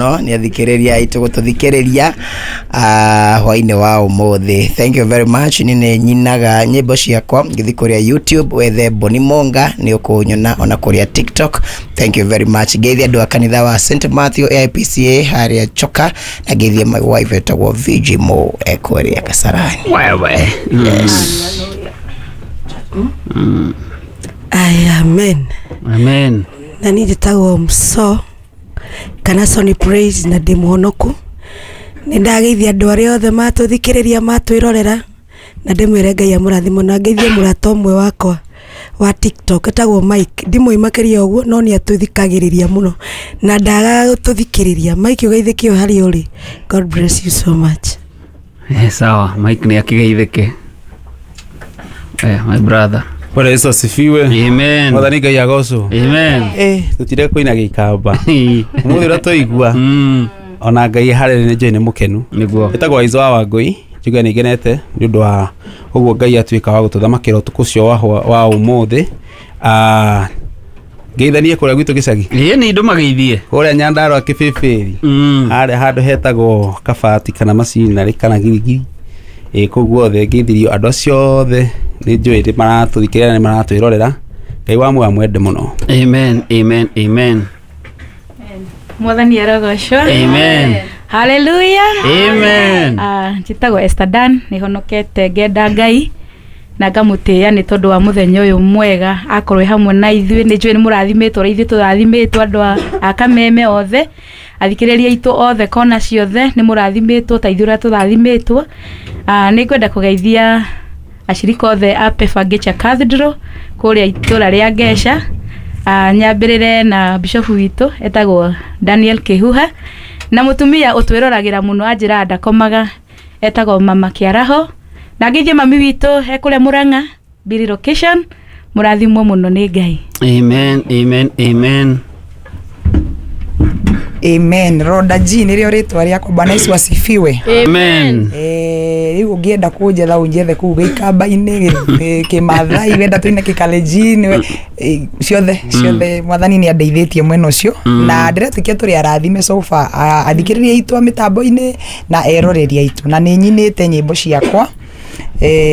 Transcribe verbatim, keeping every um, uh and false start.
No nĩ athikĩrĩria aitũ gũtũthikĩrĩria uh, hwainĩ wa ũmũthĩ. Thank you very much. Nĩ nĩ nyinaga nyĩmbo ciakwa, ngĩthiĩ kũrĩa YouTube wethe Boni Monga nĩ ũkũnyona, ona kũrĩa TikTok. Thank you very much. Ngeithie andũ a kanitha wa Saint Matthew A I P C A harĩa Choka, na ngeithie my wife etagwo V G Mo ekũrĩa Kasarani. Wewe. Yes. Ay, amen. Amen. Na niĩ njĩtagwo Mso kana Sony Praise na ndĩ mũhonoku. Nĩ ndageithia andũ arĩa othe matũthikĩrĩria, matwĩrorera, na ndĩmwĩre Ngai amũrathime, na ngeithie mũrata ũmwe wakwa wa TikTok etagwo Mike. Ndimũĩ makĩria ũguo, no nĩ atũthikagĩrĩria mũno na ndagaga gũtũthikĩrĩria. Mike, ũgeithĩke o harĩa ũrĩ. God bless you so much. Eh, sawa, Mike nĩ akĩgeithĩke. Eh, my brother. Bwana Yesu asifiwe. Amen. Mwathani Ngai agocwo. Amen. Eh, tutire kũina gĩikamba. Ũmũthĩ ũrĩa twaigua Mm. ona Ngai harĩ nĩ njũĩ nĩ mũkenu. Nĩguo. Ĩtagwo Aizo wa Wangũi. Njuge nĩ ngenete nĩ ũndũ wa ũguo Ngai atuĩka wa gũtũthamakĩra ũtukũ ũcio wa hwa- wa ũmũthĩ. Ah, ngeithanie kũrĩa gwitũ gĩcagi. Ĩĩ, nĩ ndũmageithie. Kũrĩa Nyandarũa Kĩbĩbĩri. Mm. Harĩa handũ hetagwo Kabati kana Macinarĩ kana Girigiri. Ĩ kũu guothe ngeithirio andũ acio othe, nĩ njũĩ nĩ maratũthikĩrĩria na nĩ maratwĩrorera. Ngai wa muoyo amwende mũno. Amen, amen, amen. Mwathani arogocwo. Amen. Haleluya. Amen. Ah, njĩtagwo Esther Dan, nĩ honokete, ngenda Ngai na ngamũtĩĩa nĩ tondũ wa mũthenya ũyũ mwega akorwo hamwe na ithuĩ. Nĩ njũĩ nĩ mũrathimĩtwo ũrĩa ithuĩ tũrathimĩtwo. Andũ a- a Kameme othe, athikĩrĩria aitũ othe kona ciothe, nĩ mũrathimĩtwo ta ithuĩ ũrĩa tũrathimĩtwo. Ah, nĩ ngwenda kũgeithia acirika othe a Pefa Ngecha Cathedral kũrĩa itũra rĩa Ngeca. Ah, nyambĩrĩre na bishofu witũ etagwo Daniel Kĩhuha, na mũtumia ũtwĩroragĩra mũno anjĩraga ndakomaga etagwo Mama Kĩaraho, na ngeithie mami witũ ekũrĩa Mũrang'a Biri location. Mũrathimwo mũno nĩ Ngai. Amen, amen, amen. Amen. Roda G nĩrĩo rĩtwa rĩakwa. Bwana Yesu asifiwe. Amen. Eh, rĩu ũngĩenda kũnjetha, ũnjethe kũu gĩikamba-inĩ, gĩ- kĩmathai, wenda tũine kĩkalenjin, eh, ciothe ciothe. Mwathani nĩ andeithĩtie mwena ũcio na ndĩretĩkia tũrĩ arathime so far, a- athikĩrĩria aitũ a mĩtambo-inĩ na eroreri aitũ, na nĩ nyinĩte nyĩmbo ciakwa. Eh,